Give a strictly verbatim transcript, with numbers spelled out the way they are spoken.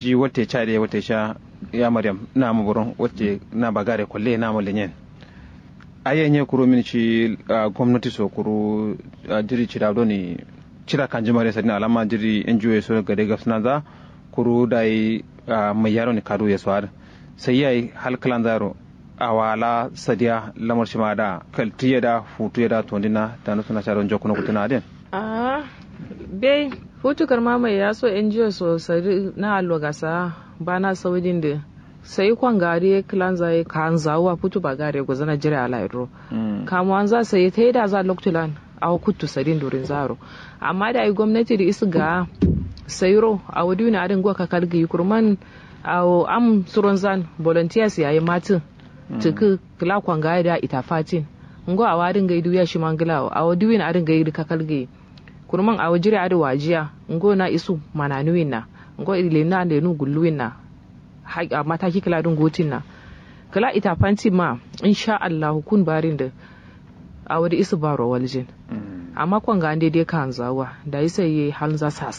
Shi watte cade watte sha ya maryam na mu buron watte na bagare kolle na mu lenyen. Ayye nye kuru min shi gomnati so kuru jiri cida doni cida kanji mare sadin alama jiri ngo so gade gabsina za kuru dai mai yaro ni kadu ye so ad sai yayi hal klan zaro awala sadiya lamar shima da kaltiye da futuye da tondina tanu suna sharo njokuno kutuna adin. Ahh. Bai futu karma mai yaso ngo so sadi na allo gasa bana saudin di sai kwangari ye klanza ye kanzawa futu bagare gozana jire alaidro. Kamuwanza sai taida za loktulan awo kuttu sadin durin zaro. Amma dayi gomnati di isu ga sairo awo diwin adin go kakal gi kurman awo am suronzan volunteers yayi matu. Tuku kla kwangari da ita fatin. Ngo awo adin gai duya shima nglawo awo diwin adin gai kakal gi. Kurman awo jire adin wajiya ngo na isu mananuwin na ngo ilena lenu gulluwin na. Mataki kla dun gotin na kla ita fantin ma insha allahu kun barin di. Awo di isu baro waljin. Amma kwanga ande de kanzawa da isa ye halnza sasa.